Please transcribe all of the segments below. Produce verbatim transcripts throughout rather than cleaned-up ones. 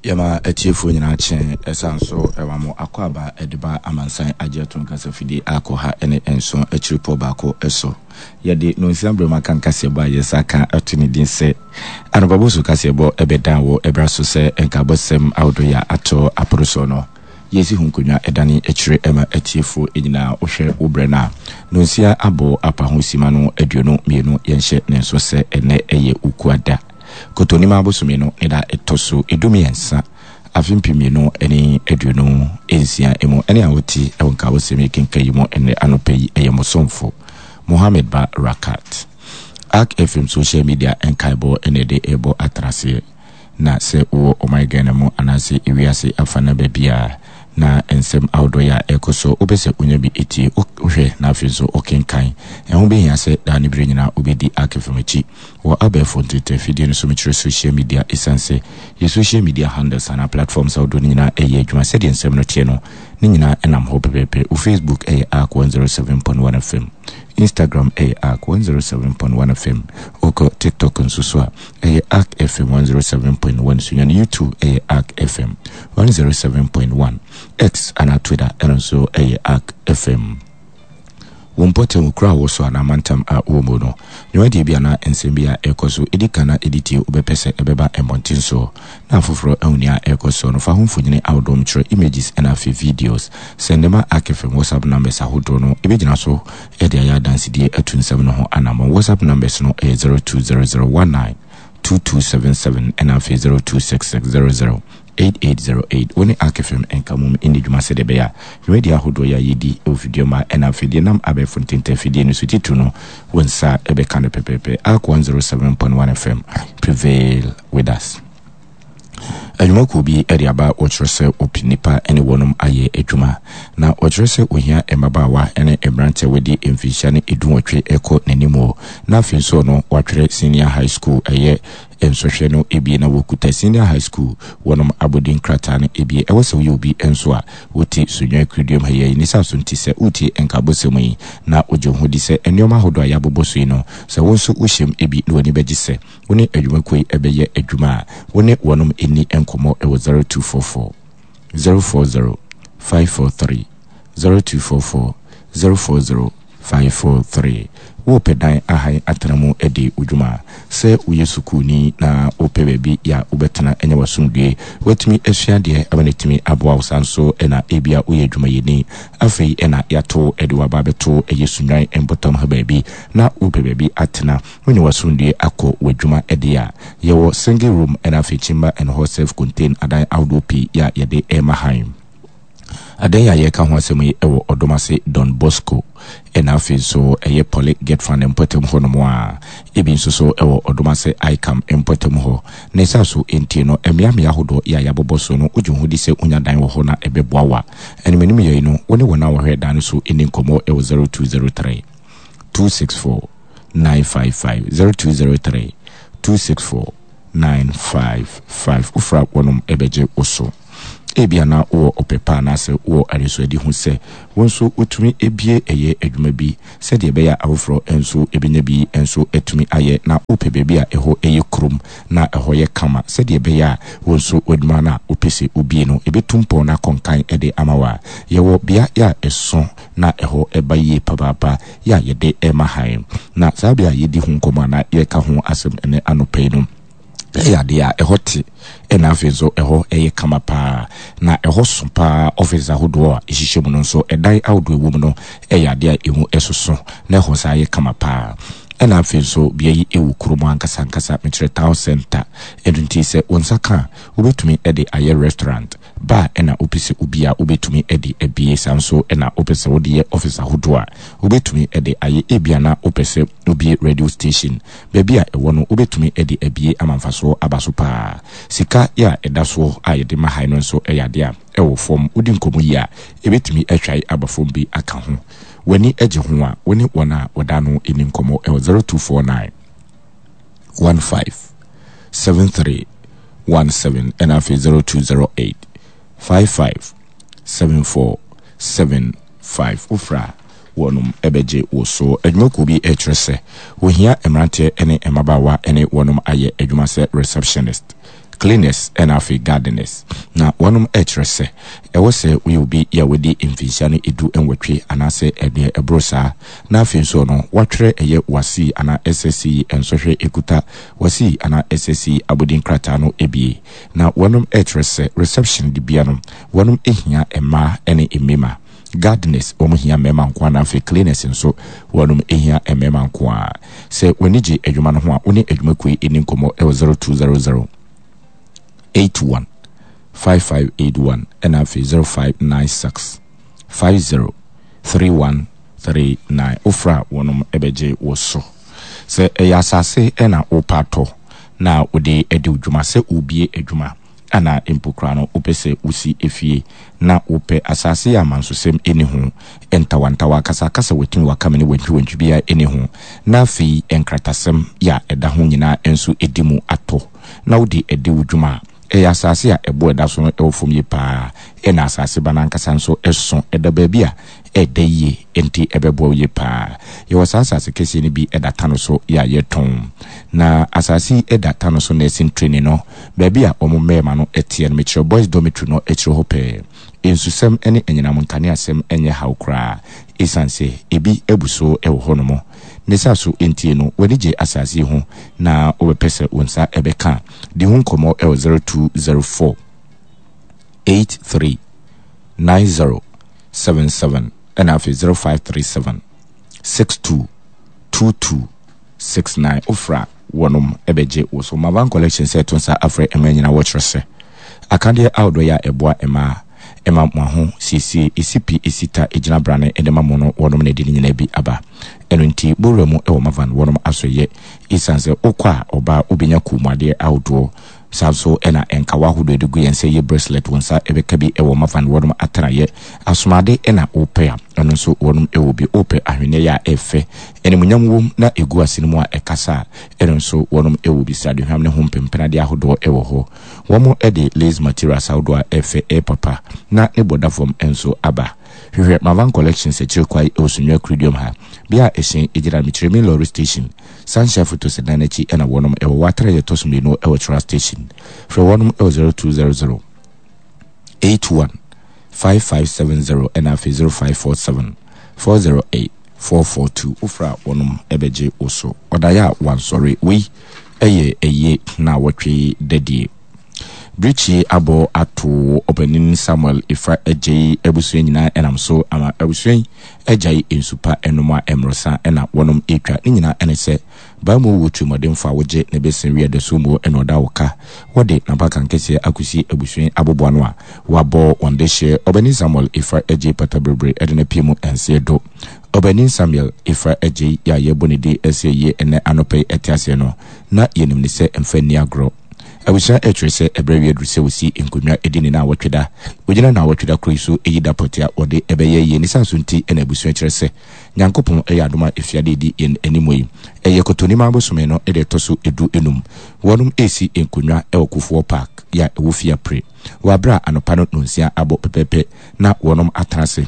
Yɛma atiefoɔ nyinaa kye ɛsan so ɛwɔ mo akɔ aba ɛde ba amansan agye ato nkasa fidie akɔ ha ɛne nson akyiripɔ baako ɛso. Yɛde nonsia berɛ mu aka nkaseɛbɔ a yɛsa ka ɛto ne din sɛ anɔpabɔ so kaseɛbɔ ɛbɛdan wɔ ɛbra so sɛ nkabɔsɛm ahodoɔ yɛ ato aporo so no. Yɛsi ho nkonnwa ɛdane akyire ɛma atiefoɔ nyinaa. Wohwɛ wo berɛ no a nonsia abɔ apa ho sima no aduonu mmienu, yɛnhyɛ ne nso sɛ ɛnɛ ɛyɛ Ukuada Kotonim abosome no ne da ɛtɔ so edumiɛnsa, afe mpem mmienu ne aduonu nsia mu. Ɛne a wote ɛwɔ nkabɔsɛm yi kenka yi mu ɛnɛ anɔpa yi ɛyɛ mosomfo Mohammed Ba Rakat. Ark F M social media nkaebɔ ɛna ɛde ɛbɔ atraseɛ na sɛ wowɔ ɔman Ghana mu anaasɛ ewiase afa na baabi a na nsɛm ahodoɔ yi a ɛkɔ so wopɛ sɛ wonya bi etie, wohwɛ na afei nso ɔkenkan ɛho bɛhia sɛ daa ne berɛ nyinaa wobɛdi Ark F M akyi wɔ abɛɛfo ntetɛ fidie no so, mekyerɛ social media, ɛsiane sɛ yɛ social media handles anaa platforms ahodoɔ no nyinaa ɛyɛ adwuma. Sɛdeɛ nsɛm no teɛ no ne nyinaa ɛnam hɔ pɛpɛɛpɛ. Wo Facebook ɛyɛ Ark one oh seven point one F M, Instagram ɛyɛ Ark one oh seven point one F M, wokɔ TikTok nso so a ɛyɛ Ark F M one oh seven point one, Sunyani YouTube ɛyɛ Ark F M one oh seven point one, X anaa Twitter ɛno nso ɛyɛ Ark F M. Wo mpɔtam kura a wɔ so anaa mantam a wɔ mu no, dwumadie bi anaa nsɛm bi a ɛkɔ so ɛdi kan na ɛdi tie wobɛpɛ sɛ ɛbɛba mmɔnten soɔ na afoforɔ ahu nea ɛkɔ so no, fa ho mfonyini ahodoɔ, mekyerɛ images ɛna afei videos, send ma Ark F M WhatsApp numbers ahodoɔ no. Ɛbɛgyina so ɛde ayɛ adansedie atu nsɛm no ho anammɔn. WhatsApp numbers no ɛyɛ zero two zero zero one nine two two seven seven ɛna afei zero two six six zero zero eight eight zero eight. Wo ne Ark F M nka mom ɛni dwuma sɛdeɛ ɛbɛyɛ a dwumadi ahodoɔ yɛ a yɛdi ɛwɔ fidie ma ɛna afei deɛ nam abɛɛfo ntenta fidie no so titiri no, wo nsa ɛbɛka no pɛpɛɛpɛ. Ark one oh seven point one F M, prevail with us. Adwumakuo bi de aba, wɔkyerɛ sɛ wɔpɛ nnipa ne wɔnom ayɛ adwuma na wɔkyerɛ sɛ ohia mmabaawa ne mmeranteɛ wɔdi mfinhyia no eduwɔtwe kɔ n'anim wɔ na afei nso no wɔatwerɛ senior high school ɛyɛ nsɔhwɛ no ebie na wɔkuta senior high school wɔnom abɔden krataa no ebie. Ɛwɔ sɛ woyɛ obi nso a wote Sunyani kuroduam ha yi ne sa so nti sɛ wotie nkabɔsɛm yi na wogye ho di sɛ nneɛma ahodoɔ a yɛabobɔ so yi no sɛ wo nso wohyɛm ebi na w'ani bɛgye sɛ wo ne adwumakuo yi ɛbɛyɛ adwuma a, wo ne wɔnom ɛni nkɔmmɔ ɛwɔ zero two four four zero four zero five four three, zero two four four zero four zero five four three. Wopɛ dan ahan atena mu de wo dwuma, sɛ woyɛ sukuuni na wopɛ baabi yɛ a wobɛtena ɛnyɛ w'asomdue woatumi asua deɛ ama no atumi aboa wo, saa nso ɛna ebia woyɛ adwumayɛni, afei ɛna yɛato ɛde waba abɛto ɛyɛ Sunyani mpɔtam ha baabi na wopɛ baabi atena wonyɛ w'asomdue akɔ w'adwuma ɛde a, yɛwɔ single room ɛna afei chamber and hall self contain adan ahodoɔ pii yɛ a yɛde ɛma han. Adan a yɛka ho asɛm yi ɛwɔ Ɔdomase Don Bosco ɛna afei nso ɛyɛ Poly Get Fund mpɔtam hɔ nom a ebi nso so ɛwɔ Ɔdomase ICAM mpɔtam hɔ na ɛsa so ntie no mmeammea ahodoɔ yɛ a yɛabobɔ so no, wogye ho di sɛ wonya dan wɔ hɔ na ɛbɛboa wa animanim yɛi no, wo ne wɔn a wɔhwɛ dan no so ɛni nkɔmmɔ ɛwɔ zero two zero three two six four nine five five, zero two zero three two six four nine five five. Wofra wɔnom ɛbɛgye wo so. Ebia na wowɔ ɔpɛ pa anaasɛ wowɔ adesuadi ho sɛ wo nso wotumi ebie ɛyɛ adwuma bi sɛdeɛ ɛbɛyɛ a afoforɔ nso ebɛnya bi nso atumi ayɛ na wopɛ baabi a ɛhɔ ɛyɛ kurom na ɛhɔ yɛ kama sɛdeɛ ɛbɛyɛ a wo nso w'adwuma no a wopɛ sɛ wobie no ɛbɛtu mpɔn no akɔnkan ɛde ama wo a, yɛwɔ bea yɛ a ɛso na ɛhɔ ɛba yie papaapa yɛ a yɛde ɛma han. Na saa bea a yɛdi ho nkɔmmɔ anaa yɛka ho asɛm ɛne anɔpa yi no ɛyɛ adeɛ a ɛhɔ te ɛna afei nso ɛhɔ ɛyɛ kama paa na ɛhɔ so paa. Office ahodoɔ a ɛhyehyɛ mu no nso, ɛdan ahodoɔ ɛwɔ mu no ɛyɛ adeɛ a ɛmu ɛsoso na ɛhɔ saa yɛ kama paa. Ɛna afei nso bea yi ɛwɔ kurom ankasa ankasa, mekyerɛ town center. Ɛno nti sɛ wo nsa ka a, wobɛtumi ɛde ayɛ restaurant bar ɛna wopɛ sɛ obi a wobɛtumi ɛde abie, saa nso ɛna wopɛ sɛ wode yɛ office ahodoɔ a wobɛtumi ɛde ayɛ. Ebia na wopɛ sɛ wobie radio station, baabi a ɛwɔ no wobɛtumi ɛde abie ama mfasoɔ aba so paa. Sika yɛ a ɛda soɔ a yɛde ma han no nso ɛyɛ adeɛ a ɛwɔ fam. Wodi nkɔmmɔ yi a ɛbɛtumi atwae aba fam bi aka ho. W'ani agye ho a, wo ne wɔn a wɔda no ɛni nkɔmmɔ ɛwɔ zero two four nine one five seven three one seven ɛna afei zero two zero eight five five seven four seven five. Wofra wɔnom ɛbɛgye wo so. Adwumakuo bi ɛkyerɛ sɛ wɔhia mmeranteɛ ne mmabaawa ne wɔnom ayɛ adwuma sɛ receptionist, cleaners ɛna afei gardeners. Na wɔnom ɛkyerɛ sɛ ɛwɔ sɛ woyɛ obi yɛ a wadi mfinhyia no edu nwɔtwe anaasɛ ɛdeɛ ɛboro saa, na afei nso no watwerɛ ɛyɛ WASSCE anaa S S C E nsɔhwɛ ekuta WASSCE anaa S S C E abɔdin krataa no ebie. Na wɔnom ɛkyerɛ sɛ reception dibea no, wɔnom ehia mmaa ɛne mmarima. Gardeners, wɔn hia mmarima nko ara, na afei cleaners nso, wɔnom ehia mmarima nko ara. Sɛ w'ani gye adwuma no ho a, wo ne adwumakuo yi ani nkɔmmɔ ɛwɔ zero two zero zero eight one five five eight one ɛna afei zero five nine six five zero three one three nine. Wofra wɔnom ɛbɛgye wɔ so. Sɛ ɛyɛ asase ɛna wopɛ atɔ na wode adi wo dwuma, sɛ wobie adwuma ana mpo koraa no wopɛ sɛ wosi efie na wopɛ asase yɛ amansosɛm ɛni ho ntawantawa, akasakasa, watumi wakame ne wantwiwantwi biara ɛni ho, na afei nkratasɛm yɛ a ɛda ho nyinaa nso ɛdi mu atɔ na wode adi wo dwuma a, ɛyɛ asase a ɛbo ɛda so no ɛwɔ fam yie paa, ɛna asase ba n'ankasa nso ɛso ɛda baabi a ɛda yie, nti ɛbɛboa wo yie paa. Yɛwɔ saa asase kɛseɛ no bi ɛda Tano so yɛ a yɛtɔn, na asase yi ɛda Tano so nursing training no baabi a wɔn mmarima no ɛteɛ no, mekyerɛ boys dormitory no akyire hɔ pɛɛ. Nsusɛm ne anyinam nkaneasɛm nyɛ haw koraa, ɛsiane sɛ ebi abu so ɛwɔ hɔnom ne sa so. Ntie no, w'ani gye asase yi ho na wobɛpɛ sɛ wo nsa ɛbɛka, di ho nkɔmmɔ ɛwɔ zero two zero four eight three nine zero seven seven ɛna afei zero five three seven six two two two six nine. Wofra wɔnom ɛbɛgye wo so. Mavan Collection sɛ ɛto nsa afrɛ mmaa nyinaa, wɔkyerɛ sɛ akadeɛ ahodoɔ yɛ a ɛboa mmaa ɛma mo aho siesie ɛsi pi, ɛsi ta, ɛgyina brane ɛde ma mo no, wɔnom na ɛde ne nyinaa bi aba. Ɛno nti bowura mu ɛwɔ Mavan wɔnom asɔyɛ, ɛsiane sɛ wokɔ a ɔbaa wobɛnya kɔnmuadeɛ ahodoɔ, saa nso ɛna nkawa ahodoɔ de gu yɛn sɛ yɛ bracelet, wɔn nsa ɛbɛka bi ɛwɔ Mavan wɔnom atenaeɛ. Asomade ɛna wopɛ a, ɛno nso wɔnom ɛwɔ bi. Wopɛ ahwenneɛ yɛ a ɛfɛ, animuonyam wom na ɛgu ase no mu a ɛkasa a, ɛno nso wɔnom ɛwɔ bi. Sradehwam ne ho mpempenadeɛ ahodoɔ ɛwɔ hɔ. Wɔn ɛde lace materials ahodoɔ a ɛfɛ, ɛyɛ papa na ne bɔda fam nso aba. Hwehwɛ Mavan Collections akyire kwae ɛwɔ Sunyani Kuruduam ha, bea a ɛhyɛn gyina, mekyerɛ main lorry station, Sunshine Photos dan n'akyi ɛna wɔnom ɛwɔ. Wɔatara yɛ ɛtɔ so mmienu ɛwɔ Tra Station. Frɛ wɔnom ɛwɔ zero two zero zero eight one five five seven zero ɛna afei zero five four seven four zero eight four four two. Wofra wɔnom ɛbɛgye wo so. Ɔdaeɛ a wansɔre wei ɛyɛ ɛyie na wɔtwe dadie. Birikyie abɔ ato Ɔpanin Samuel Efa Agyei abusua nyinaa, ɛnam so ama abusua yi agyae nsupa ɛnom a mmorosa ɛna wɔnom etwa ne nyinaa. Ɛne sɛ baamu wɔ tirimɔdenfo a wogye ne bɛsɛn wi ɛda so mu ɛna ɔda wo ka wɔde n'abakan kɛseɛ akɔsi abusua yi aboboa no a wabɔ wɔn de hyɛ Ɔbanin Samuel Efa Agyei pata bebree ɛde no pie mu ɛnseɛ do. Ɔbanin Samuel Efa Agyei yɛ a yɛbɔ ne din ɛsɛ yie ɛnɛ anɔpɛ yi ɛte aseɛ no, na yɛnim ne sɛ mfa nni agorɔ. Abusua ɛkyerɛ sɛ ɛberɛ wie aduru sɛ wɔsi nkonnwa ɛdi ne naawɔtwe da. Wɔgyina naawɔtwe da koro yi so ɛyi da pɔte a wɔde ɛbɛyɛ yie ne saa so. Nti ɛna abusua kyerɛ sɛ Nyankopɔn ɛyɛ adom a efiade edi yɛn anim yi, ɛyɛ Kɔtɔnim abosome no ɛde ɛtɔ so edu enum, wɔnom ɛresi nkonnwa ɛwɔ Kufuor Park yɛ a ɛwɔ Fiapre, wɔ aberɛ a anɔpa no nonsia abɔ pɛpɛɛpɛ na wɔnom atena ase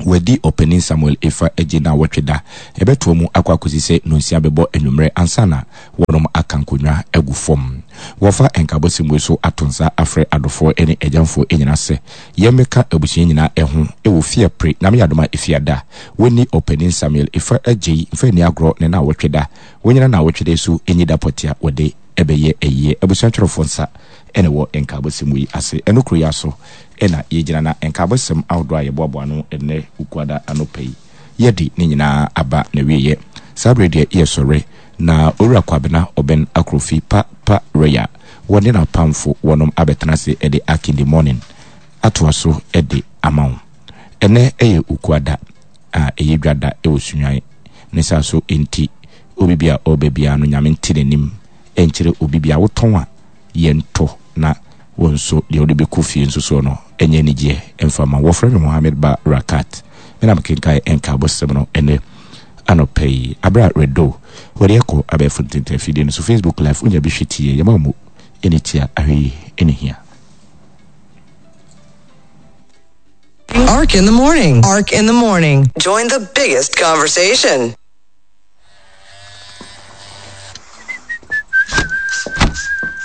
wɔadi Ɔpanin Samuel Efa Agye naawɔtwe da. Ɛbɛtoa mu akɔ akɔsi sɛ nonsia bɛbɔ anwummerɛ ansa na wɔnom aka nkonnwa agu fam. Wɔfa nkabɔsɛm wei so ato nsa afrɛ adɔfoɔ ne agyamfoɔ nyinaa sɛ yɛmmɛka abusua nyinaa ɛho ɛwɔ Fiapre, Nyame yɛ adom a efiada wɔnni Ɔpanin Samuel Efa Agye mfa nni agorɔ ne naawɔtwe da. Wɔnyina naawɔtwe da so ɛnyi da pɔte a wɔde ɛbɛyɛ ayie. Abusua twerɛfoɔ nsa ɛna ɛwɔ nkaabɔsɛm wei ase. Ɛno kuro yi aso ɛna yɛgyina na nkaabɔsɛm ahodoɔ a yɛboaboa no ɛnnɛ Ukuada anɔpa yi, yɛde ne nyinaa aba na wieɛ. Saa berɛ deɛ yɛsɔre na Owura Kwabena Ɔbɛn Akrofi pa pa Royal wɔne n'apamfo wɔnom abɛtena ase ɛde Ark in the Morning atoa so ɛde ama wo. Ɛnɛ ɛyɛ Ukuada a ɛyɛ dwa da ɛwɔ Sunyani ne saa so, nti obi bi a ɔreba biara no, Nyame nte n'anim ɛnkyerɛ obi bi a wotɔn a yɛntɔ na wɔn nso deɛ wɔde bɛkɔ fie nso soɔ no ɛnyɛ anigyeɛ ɛmfa ma. Wɔfrɛ me Mohammed Ba Rakat, me na mekenkan nkaabɔsɛm no ɛnɛ anɔpɛ yi. Aberɛ a redo wɔde ɛkɔ abɛɛfo ntenten afidie no so, Facebook Live, wonya bi hwɛ tie yɛma mu ɛne tia ahwɛ yi ɛne hia. Ark in the Morning. Ark in the Morning. Join the biggest conversation.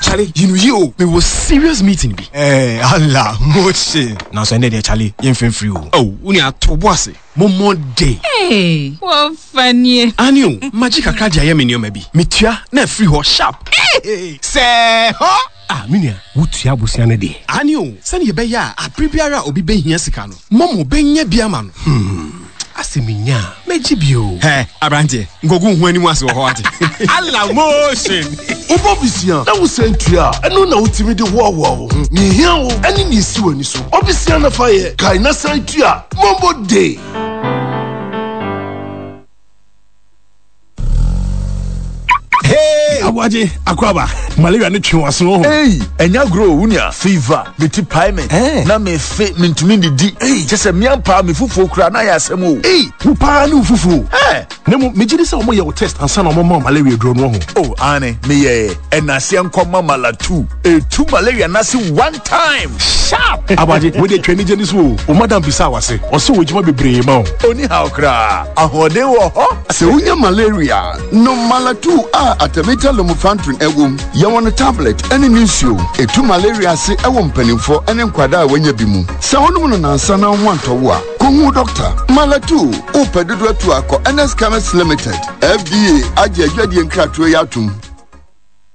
Charlie. Charlie, you know you. Me was serious meeting bi. Eh, Allah, motion. Now so there, Charlie, you feel free. Oh, uni ato boase. Momo day. Hey, what funny. Anio, magic kakra de ayɛ me nneɛma bi. Metua na afiri hɔ sharp. Hey, sɛ hɔ. Ah, minia, wotua abosia no deɛ. Anio, sɛne yɛbɛyɛ a abere biara a obi bɛhia sika no, Momo bɛnya bi ama no. Hmm. Asɛ menya a, mɛgye bio. Hɛ, aberanteɛ, nkogu ho anim ase wɔ hɔ ate. Allah motion. Wobɔ bisia na wosan tua a, ɛno na wotumi de hoahoa wo ho. Nea ehia wo ɛne nea esi w'ani so. Ɔbisia na fa yɛ, kae na san tua. Momo Day. Hey! Aboagye, akwaba. Malaria ne twe w'aso ho. Hey, ɛnya agorɔ o, wunia. Fever, me ti pae me. Eh. Na me fe, me ntumi didi. Hey, kyɛ sɛ mmea paa me fufuo kura na ayɛ asɛm o. Hey, wo paa ne wo fufuo. Eh. Na mmom, megye di sɛ wɔyɛ wo test ansa na wɔma wo malaria duro no ho. Oh, ane, meyɛɛ. Ɛnaseɛ nkɔma malatu. Etu malaria n'ase one time. Sharp! Aboagye, wo de twa anigye ne so o. Wo madam bisa wase. Ɔsɛ wɔ adwuma bebree ma wo. Oni haw koraa. Ahoɔden wɔ hɔ. Sɛ wonya malaria, nom Malatu a artemether lumefantrine ɛwom. Yɛwɔ no tablet ɛne ne nsuo. Etu malaria ase ɛwɔ mpanimfoɔ ɛne nkwadaa a wɔanya bi mu. Sɛ wonom no nansa na wo ho antɔ wo a, kɔhu dɔkta. Malatu, wopɛ dodo atu akɔ N S Chemist Limited. F D A agye adwadie nkratoɔ yi atom.